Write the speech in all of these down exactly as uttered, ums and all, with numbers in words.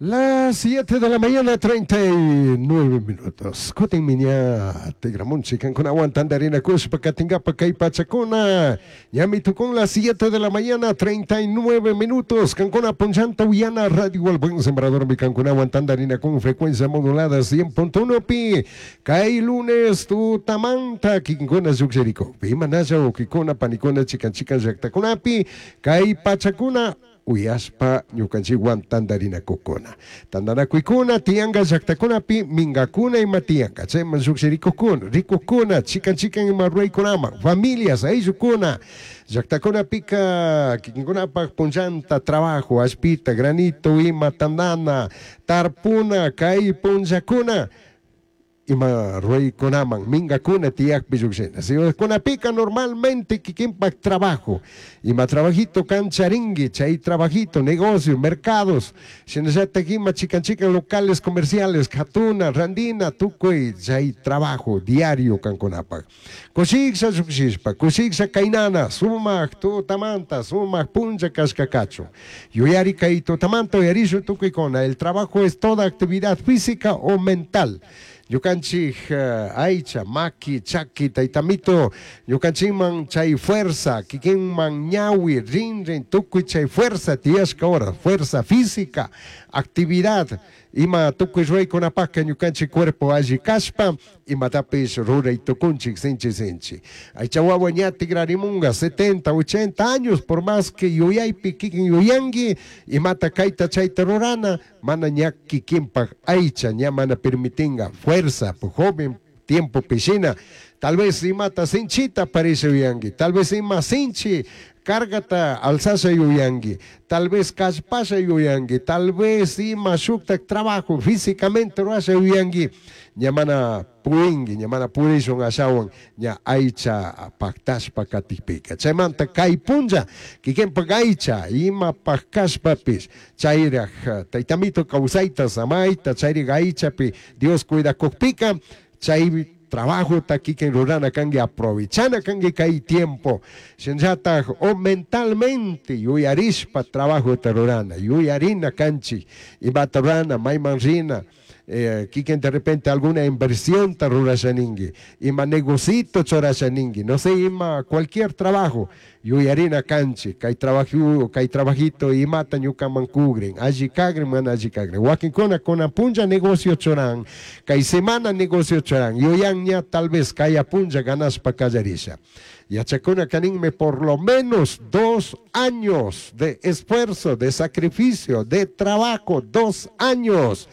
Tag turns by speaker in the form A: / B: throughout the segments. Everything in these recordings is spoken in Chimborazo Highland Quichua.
A: Las siete de la mañana, treinta y nueve minutos. Kutin ña tigramunchik kankunawan tandarinakushpa katinkapak kay pachakuna. Ñami tukun las siete de la mañana, treinta y nueve minutos. Kankuna punchanta uyana Radio El Buen Sembrador mi kankunawan tandarinakun frecuencia modulada cien punto uno pi. Kay lunes tutamanta kikinkuna llukshiriko. Imanalla wawkikuna panikuna chikan chikan llaktakunapi kay pachakuna uyashpa ñukanchikwan tandarinakukuna. Tandanakuykuna tiyanka llaktakunapi minkakuna ima tiyanka. Chayman llukshirikukuna, rikukuna, chikan chikan ima ruraykunaman, familias, ayllukuna. Llaktakunapika kikinkunapak punllanta trabajo, allpita, granito, ima tandana, tarpuna, kay punllakuna ima ruraykunaman minkakuna tiyakpi llukshina. Ciudadkunapika normalmente kikinpak trabajo, ima trabajito kan charinki, chay trabajito, negocio, mercados, shinallatak ima chikan chikan locales comerciales, katuna, randina, tukuy chay trabajo diario kankunapak. Kushiksha llukshishpa, kushiksha kaynana, sumak tutamanta, sumak punlla kashka kachun. Yuyari kay tutamanta uyarishun tukuykuna, el trabajo es toda actividad física o mental. Ñukanchik uh, aycha, maki, chaki, taytamito, ñukanchikman chay fuerza, kikinman ñawi, rinrin, tukuy chay fuerza tiyashka hora, fuerza física, actividad, ima tukuy ruraykunapakka ñukanchik cuerpo alli kashpa, imatapish ruray tukunchik sinchi sinchi. Aycha wawa ña tigrarimunga setenta, ochenta años, por más que yuyaypi kikin yuyanki, imata kayta chayta rurana, mana ña kikinpak aycha, ña mana permitinga fuerza, joven tiempo pishina, tal vez imata sinchita parece yuyanki, tal vez ima sinchi cargata alzasha yuyanki, tal vez kallpasha yuyanki, tal vez ima shuktak trabajo físicamente rurasha yuyanki, ña mana purinki, ña mana purishun ashawan ña aycha paktashpa katikpika. Chaymanta kay punlla kikinpak aycha ima kashpapish chayraj taytamito kawsayta samayta chayrik aychapi Dios cuidakukpika chay trabajo kikin rurana kanki, aprovechana kanki kay tiempo. Shinallatak o mentalmente yuyarishpa trabajo rurana, yuyarina kanchik imata rurana, mayman rina, eh, kikin de repente alguna inversión ta rurasha ninki, ima negocito churasha ninki, no sé, ima cualquier trabajo, yuyarina kanchik, kay trabajo, kay trabajito imata ñukaman kugrin, alli kagrin, mana alli kagrin. Wakinkuna kunan punlla negocio churan, kay semana negocio churan, yuyan ña tal vez kaya punlla ganashpa kallarisha. Yachakuna kaninme por lo menos dos años de esfuerzo, de sacrificio, de trabajo, dos años.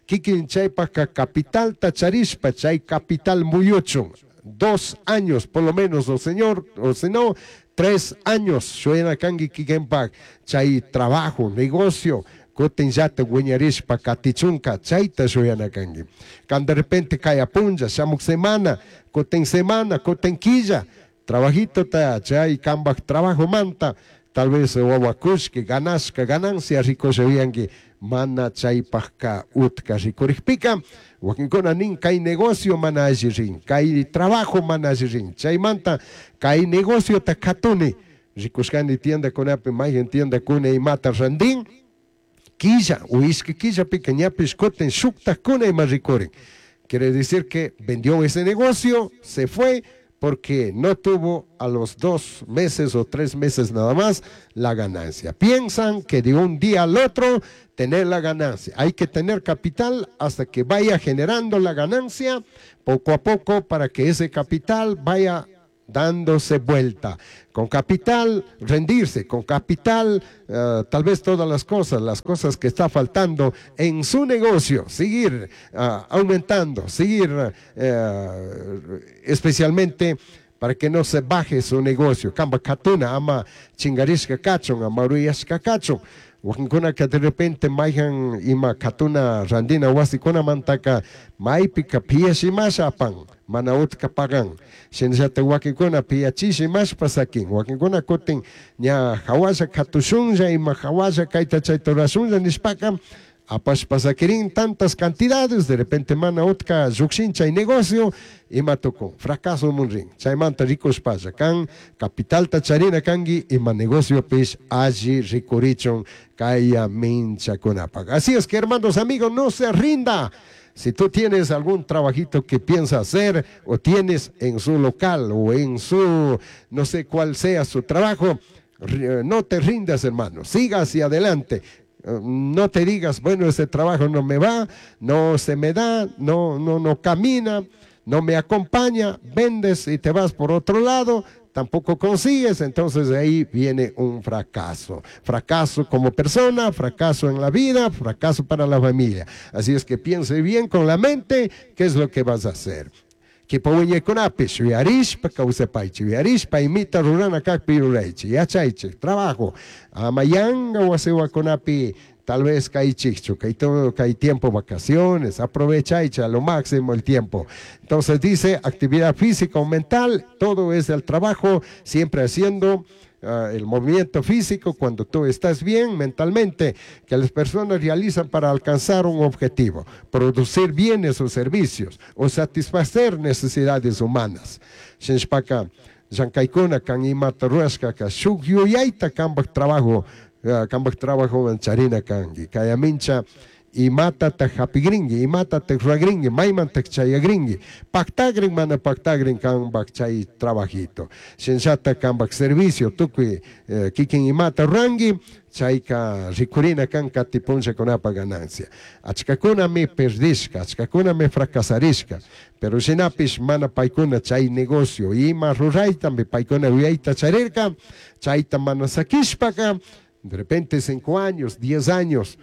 A: Kikin chaypaka capital charishpa chay capital muyuchun. Dos años por lo menos, o señor, o si no, tres años. Shuyana kanki kikinpak chay trabajo, negocio, kutin llata wiñarishpa katichunka chayta shuyana kanki. Kan de repente kaya punlla, shamuk semana, kutin semana, kutin quilla, trabajito ta chay kambak trabajo manta, tal vez wawakushki, ganashka, ganancia rikushayanki, mana chaypajka utka rikurikpika, wakinkuna nin kay negocio mana alli rin, kay trabajo mana alli rin, chaymanta kay negociota katuni, rikushkani tiendakunapi mayhan tiendakuna imata randin, quilla o ishki quillapika ñapish kutin shuktakuna ima rikurin. Quiere decir que vendió ese negocio, se fue, porque no tuvo a los dos meses o tres meses nada más la ganancia. Piensan que de un día al otro tener la ganancia. Hay que tener capital hasta que vaya generando la ganancia poco a poco para que ese capital vaya dándose vuelta. Con capital, rendirse, con capital, eh, tal vez todas las cosas, las cosas que está faltando en su negocio, seguir uh, aumentando, seguir uh, especialmente para que no se baje su negocio. Kamba katuna ama chingarishka kachun, ama ruyashka kachun. Wakinkunaka de repente mayhan ima katuna randina wasikunamantaka maypika piashimasha apan, mana utka pagan. Shinallata wakinkuna piachishimashpa sakin. Wakinkuna kutin ña hawalla katushunlla ima hawalla kayta chayta rurashunlla nishpaka Apashpa saquirin tantas cantidades, de repente mana utka llukshin chay negocio, ima tukun, fracaso munrin. Chaymanta rikushpalla kan, capitalta charina kanki, ima negociopish alli rikurichun kaya minchakunapak. Así es que, hermanos, amigos, no se rinda. Si tú tienes algún trabajito que piensa hacer o tienes en su local o en su, no sé cuál sea su trabajo, no te rindas, hermano, siga hacia adelante. No te digas, bueno, ese trabajo no me va, no se me da, no, no, no camina, no me acompaña, vendes y te vas por otro lado, tampoco consigues, entonces de ahí viene un fracaso. Fracaso como persona, fracaso en la vida, fracaso para la familia. Así es que piense bien con la mente qué es lo que vas a hacer. Kipa wiñaykunapish yuyarishpa kawsapaychik, yuyarishpa imita rurana kakpi ruraychik, yachaychik, trabajo, ama yanga wasiwakunapi tal vez kaychikchu, kay todo, kay tiempo vacaciones, aprovechaychik a lo máximo el tiempo. Entonces dice, actividad física o mental, todo es el trabajo, siempre haciendo uh, el movimiento físico cuando tú estás bien mentalmente, que las personas realizan para alcanzar un objetivo, producir bienes o servicios o satisfacer necesidades humanas. Shinashpaka, llankaykuna kan imata rurashkaka shuk yuyayta kanpak trabajo, uh, kanpak trabajo charina kanki, kaya mincha imatata hapigrinki, imatata ruragrinki, maymanta chayagrinki, paktagrin mana paktagrin kanpak chay trabajito. Shinallata kanpak servicio, tukuy eh, kikin imata ruranki, chayka rikurina kan kati punllakunapa ganancia. Achkakunami perdishka, achkakunami fracasarishka, pero shinapish mana paykuna chay negocio, ima ruraytami paykuna yuyayta charirka, chayta mana sakishpaka, de repente cinco años, diez años,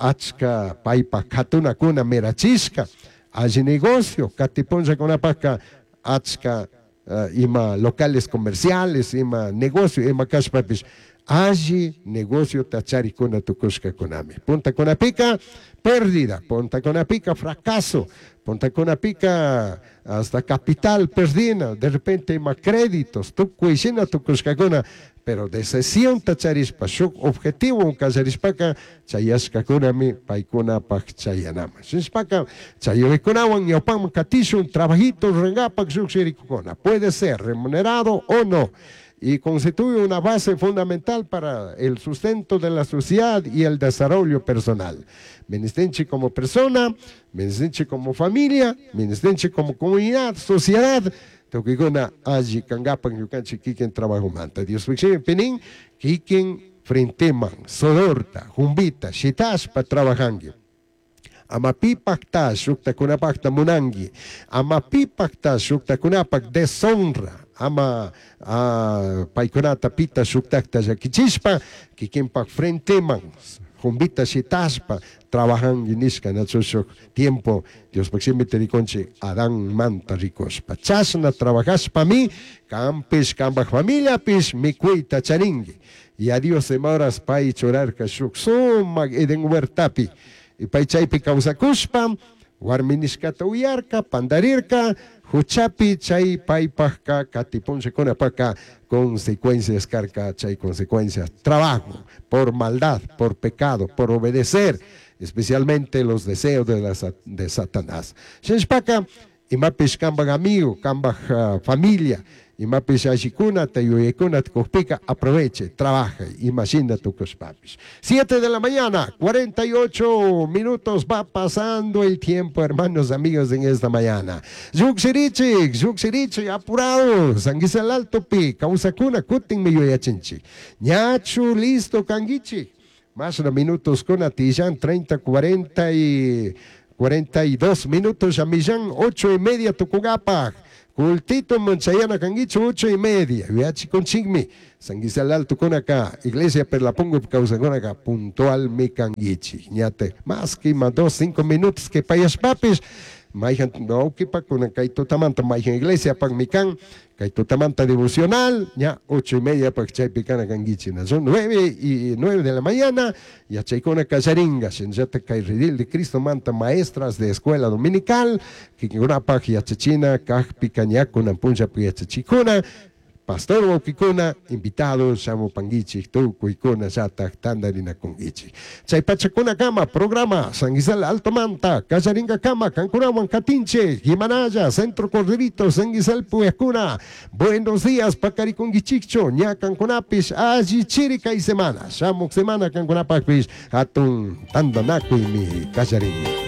A: achka paypa katunakuna mirachishka, alli negocio, kati punllakunapaka achka uh, ima locales comerciales, ima negocio, ima kashpapish, alli negocio tacharikuna tukushkakunami. Puntakunapika pérdida, puntakunapika fracaso, puntakunapika hasta capital perdina, de repente ima créditos, tukuy shina tukushkakuna, pero decisión tacharishpa, shuk objetivo kallarishpaka, chayashkakunami paykunapak chayanaman. Shinashpaka, chayurikunawan ñawpaman katishun, trabajito rurangapak llukshirikukuna. Puede ser remunerado o no, y constituye una base fundamental para el sustento de la sociedad y el desarrollo personal. Ministenche como persona, ministenche como familia, ministenche como comunidad, sociedad, tukikuna alli kangapak ñukanchik kikin trabajomanta. Dios pinin, kikin frenteman, sudorta, jumbita, shitashpa trabajanki. Ama pipakta shuktakunapakta munanki, ama pipakta shuktakunapak deshonra, ama uh, paykunata pita shuktakta llakichishpa, kikinpak frenteman, jumbita shitashpa, trabajanki nishka nachu shuk tiempo, Diospak shimita rikunchik Adán manta rikushpa. Chashna trabajashpami, kanpish, kanpak familiapish, mikuyta charinki. Y a Dios imahoras pay churarka shuk sumak Edén huertapi. Y pay chaypi kawsakushpa, warmi nishkata uyarka, pandarirka, huchapi chay paypajka katipunllakunapaka consecuencias karka, chay consecuencias, trabajo, por maldad, por pecado, por obedecer, especialmente los deseos de, la, de Satanás. Shinashpaka, imapish kanpak amigo, kanpak uh, familia, imapish allikunata, yuyaykunata kukpika, aproveche, trabaje, imagina tukushpapish. Siete de la mañana, cuarenta y ocho minutos, va pasando el tiempo, hermanos, amigos, en esta mañana. Llukshirichik, llukshirichik, apurado, Sanguisal Alto pi, kawsakuna, kutin mi yuyachinchik. Ñachu, listo, kanguichik. Más de minutos con atillán, treinta, cuarenta y cuarenta y dos minutos, ya millán, ocho y media, tukugapak. Cultito Monchayana kanguichu, ocho y media. Viachi con chingmi. Sanguisal Alto con acá. Iglesia Perlapongo causa con acá. Puntual mi kanguichi. Ñate. Más que más dos, cinco minutos que payas papis. Maijan, no, que pa con acá y totamanta. Maijan iglesia pan mi can. Kaitotamanta devocional, ya ocho y media pa chaypicana kanguichi. Son nueve y nueve de la mañana, ya chaykuna kallaringa, shinllata kay redil de Cristo manta maestras de escuela dominical, kikunapaj yachachina, kajpi kañakuna punllapi yachachikuna, Pastor wawkikuna invitados shamupanguichik tukuykuna llatak tantarinakunkichik. Chay pachakunakama programa San Gisel Altomanta kallarinkakama kankunawan katinchik Imanaya Centro Corderito San Gisel puyakuna. Buenos días pakarikunkichikchu ña kankunapish alli chiri kay semana shamuk semana kankunapakpish hatun tantanakuymi kallarin.